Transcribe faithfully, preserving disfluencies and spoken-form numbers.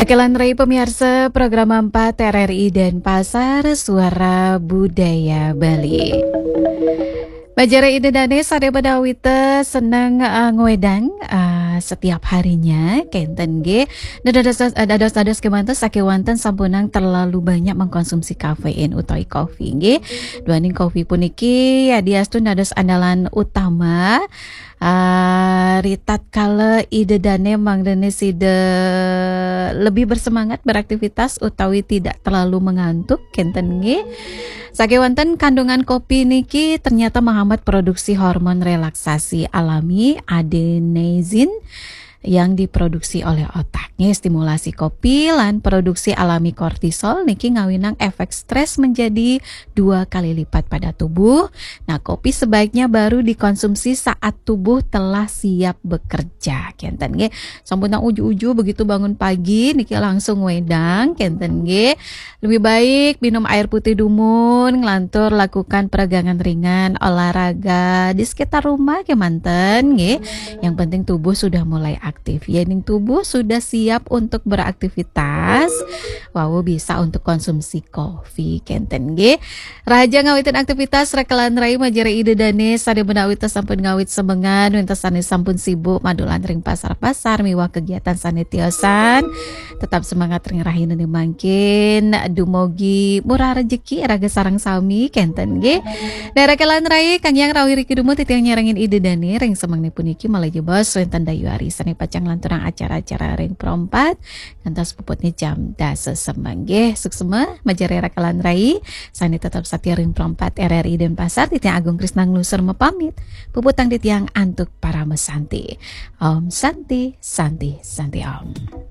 Kelanrei pemirsa program empat R R I Denpasar, Suara Budaya Bali. Majare Ida Dane sare badawita seneng uh, ngwedang uh, setiap harinya kenten nggih. Dados dados dados kemanten sakewanten sampunang terlalu banyak mengkonsumsi kafein utawi kopi nggih. Duaning kopi puniki yadiastun dados andalan utama uh, ritatkala Ida Dane mangdene sida lebih bersemangat beraktivitas utawi tidak terlalu mengantuk kenten nggih. Sakewanten kandungan kopi niki ternyata menghambat produksi hormon relaksasi alami adenosine yang diproduksi oleh otak. Nggih, stimulasi kopi lan produksi alami kortisol niki ngawinang efek stres menjadi dua kali lipat pada tubuh. Nah, kopi sebaiknya baru dikonsumsi saat tubuh telah siap bekerja. Kenten nggih. Sampun uju-uju begitu bangun pagi niki langsung wedang kenten nggih. Lebih baik minum air putih dumun, ngelantur lakukan peregangan ringan, olahraga di sekitar rumah kemanten nggih. Yang penting tubuh sudah mulai aktif. Yening tubuh sudah siap untuk beraktivitas, wau bisa untuk konsumsi kopi kenten nggih. Raja ngawitin aktivitas rekelan rai majare Ida Dane sane menawita sampun ngawit semengan, wintas sane sampun sibuk madulan ring pasar-pasar miwah kegiatan sane tiosan. Tetap semangat ring rahina mangkin, dumugi murah rejeki raga sareng sami kenten nggih. Nah, rekelan rai kang yang rawi riki dumun titiang nyarengin Ida Dane ring semengne puniki malih jebos wenten dayu ari sane pacang lanturang acara-acara ring Pro empat ngantos puputne jam dasa semeng nggih. Suksma majare rekelan rai sane tetap satia ring Pro empat R R I Denpasar, titiang Agung Krisna nglusur mapamit. Puputang titiang antuk parama santi. Om Santi, Santi, Santi Om.